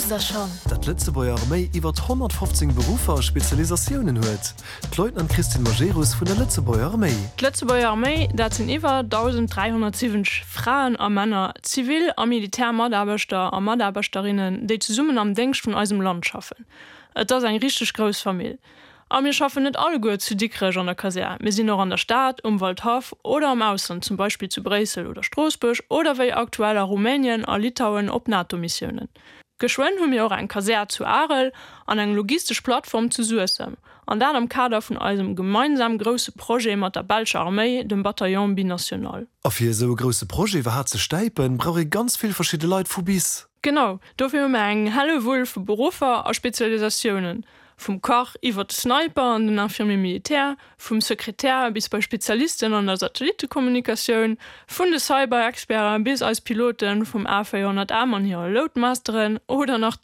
Wousst der schonn? Datt d'Lëtzebuerger Arméi iwwert 115 Beruffer a Spezialisatiounen huet? D'Leutnant Christine Majerus vun der Lëtzebuerger Arméi. D'Lëtzebuerger Arméi, dat sinn iwwer 1.370 Fraen a Männer, zivil a militär Mataarbechter a Mataarbechterinnen, déi zesummen am Déngscht vun eisem Land schaffen. Et ass eng richteg grouss Famill. A mir schaffen net alleguer zu Dikrech an der Kasär, mir sinn och an der Stad, um Waldhaff oder am Ausland, zum Beispill zu Bréissel oder Stroossbuerg oder wéi aktuell a Rumänien a Litauen op NATO-Missiounen. Geschwënn hu mir och eng Kasär zu Arel an eng logistesch Plattform zu Suessem, an dat am Kader vun eisem gemeinsam grousse Projet mat der belscher Arméi, dem Bataillon binational. A fir esou e grousse Projet iwwerhaapt ze stäipen, brauch ee ganz vill verschidde Leit vu bis. Genau, dofir hu mir eng Hellewull vu Beruffer a Spezialisatiounen, vum Kach iwwer de Sniper an den Infirmier militaire, vum Sekretär bis bei Spezialisten an der Satellittekommunikatioun, vun de Cyber-Experte bis eis Pilote vum A400M an hire Loadmasteren oder nach.